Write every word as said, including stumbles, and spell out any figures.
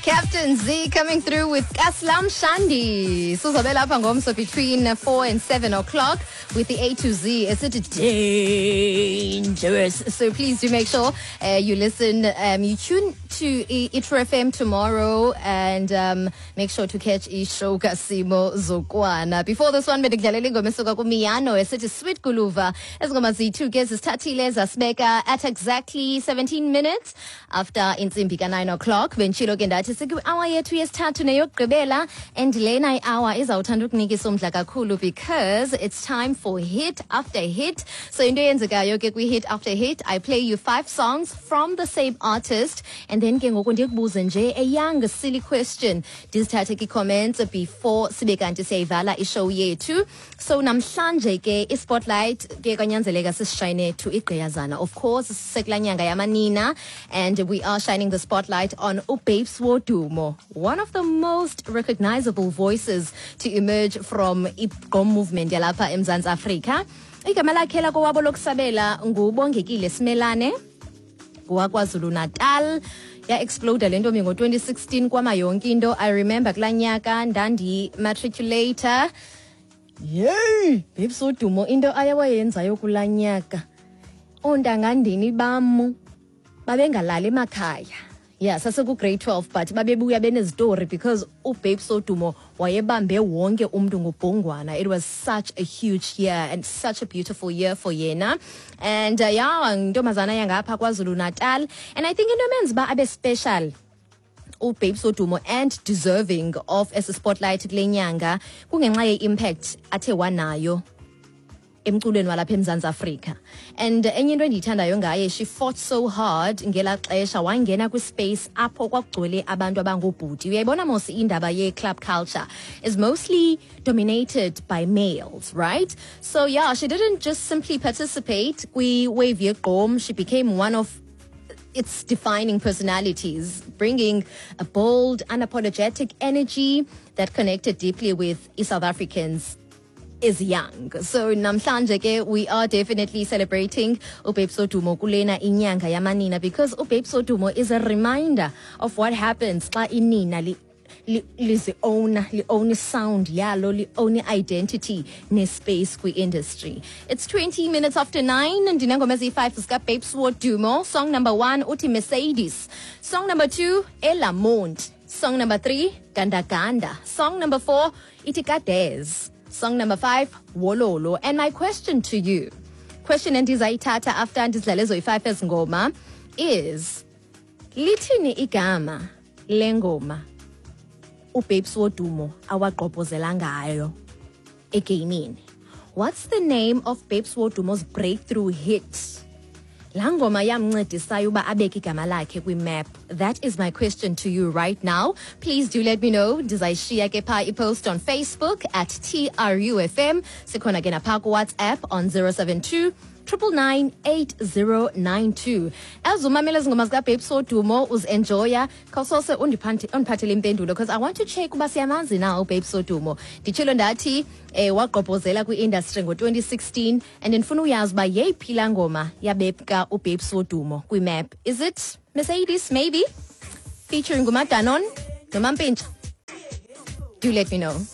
Captain Z coming through with Kaslam Shandi. Sizobe lapha ngomso between four and seven o'clock with the A to Z. Is it dangerous? So please do make sure uh, you listen, um, you tune to iTru F M tomorrow and um, make sure to catch ishow kaSimo Zokwana. Before this one, bendikudlalela ingoma esuka kuMiano esithi Sweet Guluva. Ezingoma ziyi-two ke zisithathile zasibeka at exactly seventeen minutes after intsimbi ka-nine o'clock. Benditshilo ke ndathi sikwi-hour yethu yesithathu neyokugqibela, and lena i-hour izawuthanda ukunikisa umdla kakhulu because it's time for hit after hit. So into eyenzekayo ke kwi-hit after hit, I play you five songs from the same artist and then ke ngoku ndikubuze nje a young silly question, ndizithathe kii-comments before sibe kanti siyayivala ishow yethu. So namhlanje ke ispotlight ke kwanyanzeleka sisishayine to igqiyazana. Of course sisekulaa nyanga yamanina and we are shining the spotlight on uBabes Wodumo, one of the most recognizable voices to emerge from igqom movement yalapha eMzantsi Afrika. Igama lakhe lakowabo lokusabela nguBongekile Simelane waKwaZulu Natal. Ya-exploda le ntombi ngo-twenty sixteen kwama yonke into. I remember kulaa nyaka ndandi-matriculate. Yeyi, Babes Wodumo, into ayewayenzayo kulaa nyaka, oontangandini bam babengalali emakhaya. Yeah, sasekugrade twelve, but babebuya benezitori because uBabes Wodumo wayebambe wonke umntu ngobhongwana. It was such a huge year and such a beautiful year for yena. And uh, yeah, ntombazana yangapha KwaZulu Natal, and I think into emenza uba abe special uBabes Wodumo and deserving of esi spotlight kule nyanga kungenxa ye-impact athe wanayo emculweni walapha eMzantsi Afrika. And enye into endiyithandayo ngaye, she fought so hard ngelaa xesha wangena kwispace apho kwakugcwele abantu abangoobhuti. Uyayibona mos indaba ye-club culture is mostly dominated by males, right? So yeah, she didn't just simply participate kwi-wave yegqom, she became one of its defining personalities, bringing a bold, unapologetic energy that connected deeply with South Africans is young. So namhlanje ke we are definitely celebrating uBabes Wodumo kulena inyanga yamanina because uBabes Wodumo is a reminder of what happens xa inina li lizi-owna, li-own sound yalo, li-own identity nespace kwi-industry. It's twenty minutes after nine. Ndinengoma eziyi-five zikaBabes Wodumo. Song number one uthi Mercedes, song number two Elamont, song number three Gandaganda, song number four ithi Kades, song number five Wololo. And my question to you, question endizayithatha after ndizidlale ezoyi-five ezingoma, is lithini igama lengoma uBabes Wodumo awagqobhozela ngayo egamini? What's the name of Babes Wodumo's breakthrough hit, laa ngoma yamncedisayo uba abeke igama lakhe kwimap? That is my question to you right now. Please do let me know. Ndizayishiya ke phaa ipost on Facebook at T R U F M. Sikhona ke naphaa kuWhatsApp on zero seven two nine nine nine eight zero nine two. As umamela izingoma zikaBabes Wodumo, uzenjoya, khawusose undiphathele impendulo because I want to check uba siyamazi na uBabes Wodumo. Nditshilo ndathi eh, wagqobhozela kwi-industry ngo-twenty sixteen and ndifuna uyazi uba yeyiphi laa ngoma yabeka uBabes Wodumo kwimap. Is it Mercedes, maybe featuring nguMadanon noMampintsha? Do let me know.